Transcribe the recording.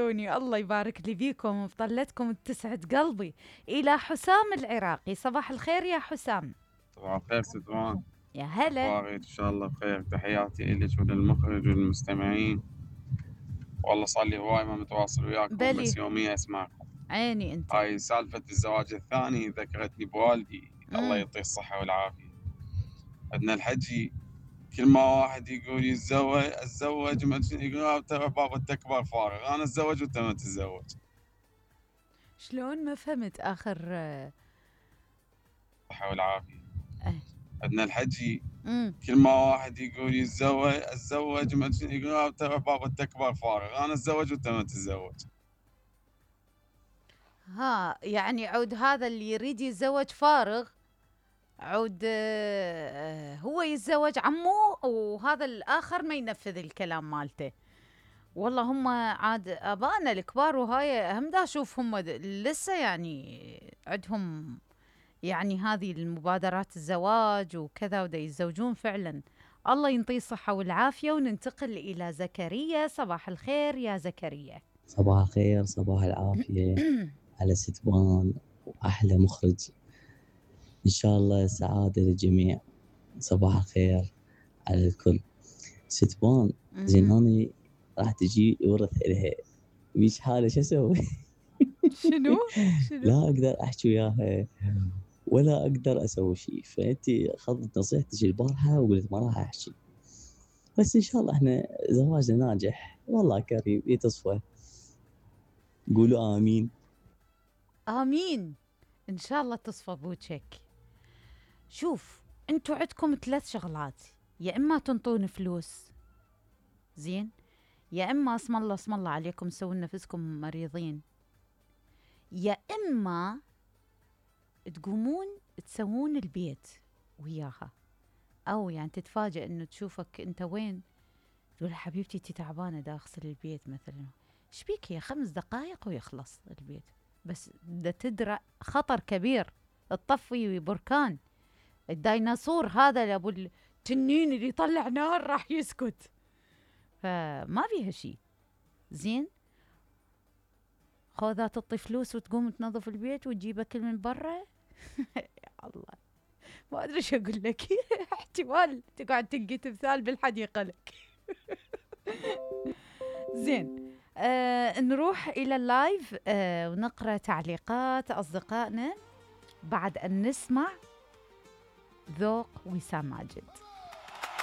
توصلوني. الله يبارك لي فيكم وبطلتكم تسعد قلبي. إلى حسام العراقي، صباح الخير يا حسام. صباح الخير ستوان، يا هلا. أخبارك؟ إن شاء الله بخير. تحياتي إلك وللمخرج والمستمعين. والله صار لي هواي ما متواصل وياكم، بلي بس يوميا أسمعكم. عيني أنت. هاي سالفة الزواج الثاني ذكرتني بوالدي، الله يعطيه الصحة والعافية. عندنا الحجي كل ما واحد يقول اتزوج يقول ترى بابا التكبر فارغ، أنا أتزوج وأنت ما تتزوج. شلون ما فهمت آخر الصحة والعافية. أه. عندنا الحجي كل ما واحد يقول اتزوج يقول ترى بابا التكبر فارغ، أنا أتزوج وأنت ما تتزوج. ها يعني عود هذا اللي يريد يتزوج فارغ، عود هو يتزوج عمه، وهذا الآخر ما ينفذ الكلام مالته. والله هم عاد آبائنا الكبار وهاي هم دا أشوف هم لسه يعني عندهم يعني هذه المبادرات الزواج وكذا، ودا يتزوجون فعلا. الله ينطيه الصحة والعافية. وننتقل إلى زكريا. صباح الخير يا زكريا. صباح الخير، صباح العافية على ستوان وأحلى مخرج. إن شاء الله سعادة للجميع. صباح الخير على الكل. ستوان زين أنا راح تجي ورث إلها مش حالة، شو أسوي؟ شنو؟ لا أقدر أحكي وياها ولا أقدر أسوي شيء، فأنت أخذت نصيحتك البارحة وقلت ما راح أحكي، بس إن شاء الله إحنا زواجنا ناجح والله كريم يتصفى. قولوا آمين. آمين. إن شاء الله تصفى بوجهك. شوف أنتوا عندكم 3 شغلات، يا إما تنطون فلوس زين، يا إما اسم الله عليكم سووا نفسكم مريضين، يا إما تقومون تسوون البيت وياها. أو يعني تتفاجئ إنه تشوفك أنت وين، تقول حبيبتي أنت تعبانة دا أغسل البيت مثلا، شبيك هي 5 دقائق ويخلص البيت، بس دا تدرى خطر كبير، تطفي بركان. الديناصور هذا أبو التنين اللي يطلع نار راح يسكت، فما فيها شيء زين. خوذا تعطي فلوس وتقوم تنظف البيت وتجيب أكل من برا. يا الله ما أدري شو أقول لك. احتمال تقعد تلقي تمثال بالحديقة لك. زين نروح إلى اللايف ونقرأ تعليقات أصدقائنا بعد أن نسمع ذوق وسام ماجد.